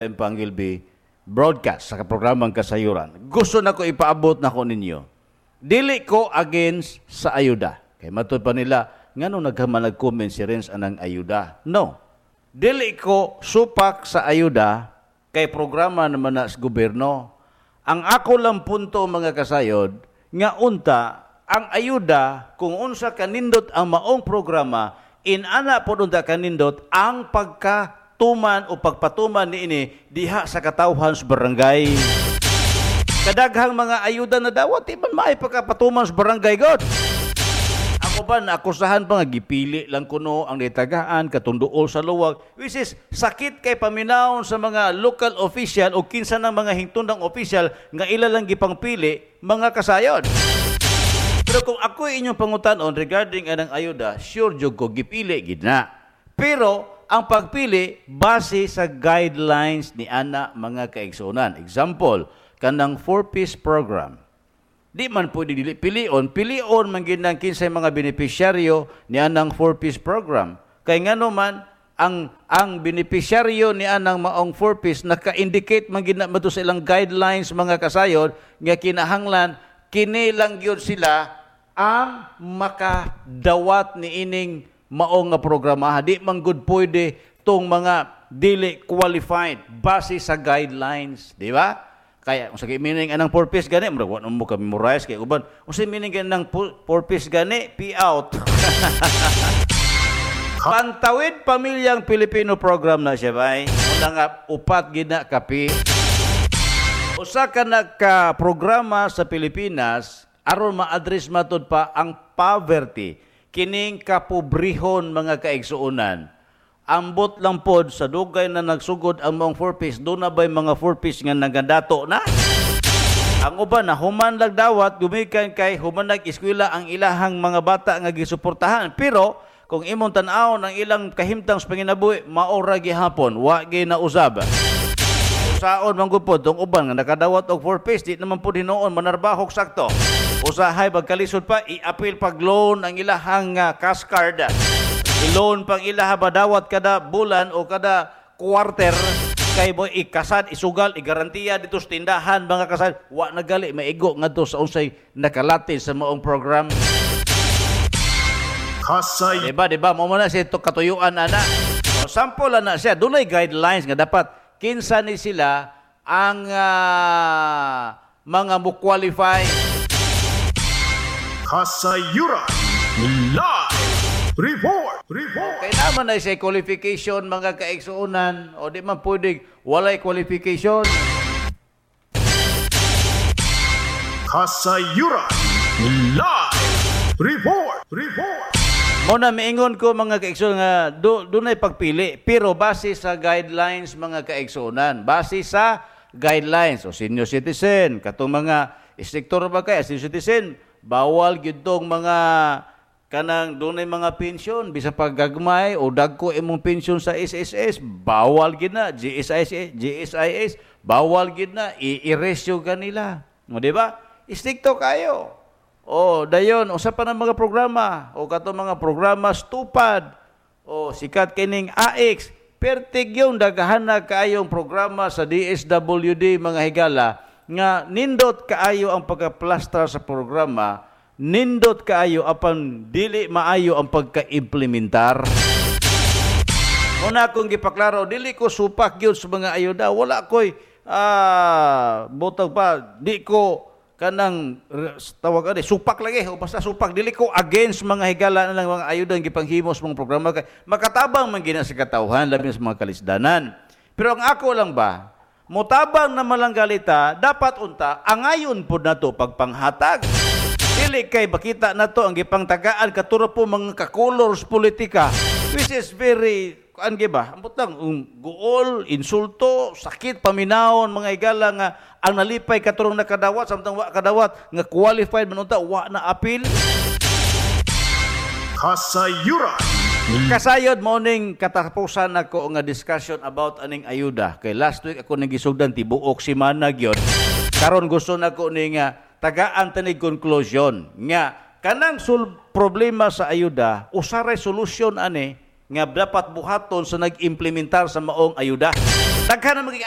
Pangilbi broadcast sa programang Kasayuran. Gusto na ko ipaabot na ko ninyo. Dili ko against sa ayuda. Kay matud pa nila, ngano naghaman nag-comment si Renz anang ayuda? No. Dili ko supak sa ayuda kay programa naman na sa gobyerno. Ang ako lang punto, mga kasayod, nga unta ang ayuda kung unsa kanindot ang maong programa, inana pod unta kanindot ang pagkatuman o pagpatuman niini diha sa katawhan sa barangay. Kadaghang mga ayuda na dawat, di man maay pagkapatuman sa barangay god. Ako ba naakusahan pa nga gipili lang kuno ang nitagaan katunduol sa luwag, which is sakit kay paminawon sa mga local official o kinsa ng mga hingtundang official nga ila lang gipangpili, mga kasayod. Pero kung ako inyong pangutanon regarding anang ayuda, sure jud ko gipili gid na. Pero ang pagpili base sa guidelines ni ana, mga kaigsuonan. Example, kanang four-piece program. Di man pwede dili pilion, pilion man gid nang kinsay mga benepisyaryo ni anang four-piece program. Kay ngano man ang benepisyaryo ni anang maong four-piece naka-indicate man gid na sa ilang guidelines, mga kasayod, nga kinahanglan kini lang gyud sila ang makadawat ni ining maong nga programa. Di man gud pwede tong mga dili qualified base sa guidelines, di ba? Kaya kung sa meaning anang four-piece gani, murag wa mo ka memorize kay uban. Unsa meaning gani ng four-piece gani? P out. Pantawid Pamilyang Pilipino program na siya bay. Una nga upat gid na kapi. Usa ka naka programa sa Pilipinas aron ma-address matud pa ang poverty, kining kapobrehon, mga kaigsuonan. Ambot lang pod sa dugay na nagsugod ang mga four-piece, doon na ba'y mga four-piece nga nagadato na? Ang uban na human lagdawat, gumikan kay human nag-eskwela ang ilahang mga bata nga gisuportahan. Pero kung imong tan-awon ang ilang kahimtang sa panginabuhi, maora gihapon, wa gyud na usab. Usaon man gud pod tong uban nga nakadawat og four-piece, di naman pod hinuon manarbahok sakto. Usahay pagkalisod pa, i-appeal pag loan ang ilahang cash card. I-loan pang ilaha badawat kada bulan o kada quarter kay mo ikasad, isugal, igarantiya dito sa tindahan, mga kasad. Wa na gali maigo ngadto sa unsay nakalati sa maong program. Kasay. Diba, diba? Mo na siya ito katuyuan, ana. O, sample na siya. Dunay guidelines nga dapat kinsa ni sila ang mga mo-qualify. Kasayuran Live Report! Report! Kaya naman na siya qualification, mga kaigsuonan, o di man pwedeng walay qualification. Kasayuran Live Report! Report! Muna miingon ko, mga kaigsuonan, nga dunay pagpili, pero base sa guidelines, mga kaigsuonan, base sa guidelines. O senior citizen, katong mga sektor ba kay senior citizen, bawal gyud tong mga kanang dunay mga pensyon bisan pag gagmay o dagko imong pensyon sa SSS, bawal gid na. GSIS, GSIS, bawal gid na, i-erase kanila. O di ba? Istrikto kayo. O dayon usa pa ng mga programa o kato mga programa stupad o sikat kining AX, pertig yung daghan na kaayong programa sa DSWD, mga higala, nga nindot kaayo ang pagkaplastar sa programa, nindot kaayo apan dili maayo ang pagka-implementar. Una akong gipaklaro, dili ko supak gyud sa mga ayuda. Wala ko'y butag pa, di ko kanang tawag ani supak lagi o basta supak, dili ko against, mga higala, na lang mga ayuda ang gipanghimo sa mga programa kay makatabang man gina sa katawhan, labi na sa mga kalisdanan. Pero ang ako lang ba, motabang na malanggalita, dapat unta angayon pud nato pagpanghatag. Dili kay makita nato ang gipangtagaan katuro po mga kakolor sa politika, which is very kuan ba? Ambot lang guol, insulto, sakit paminawon, mga higala, nga ang nalipay katurong nakadawat samtang wa kadawat nga qualified man unta wa na appeal. Kasayuran. Kasayod, morning katapusan nako nga discussion about aning ayuda. Kay last week ako nagisugdan tibuok semana gyud. Karon gusto nako ni nga tagaan tanig conclusion nga kanang problema sa ayuda, usaray solusyon ani nga dapat buhaton sa nag-implementar sa maong ayuda. Daghan na magiging.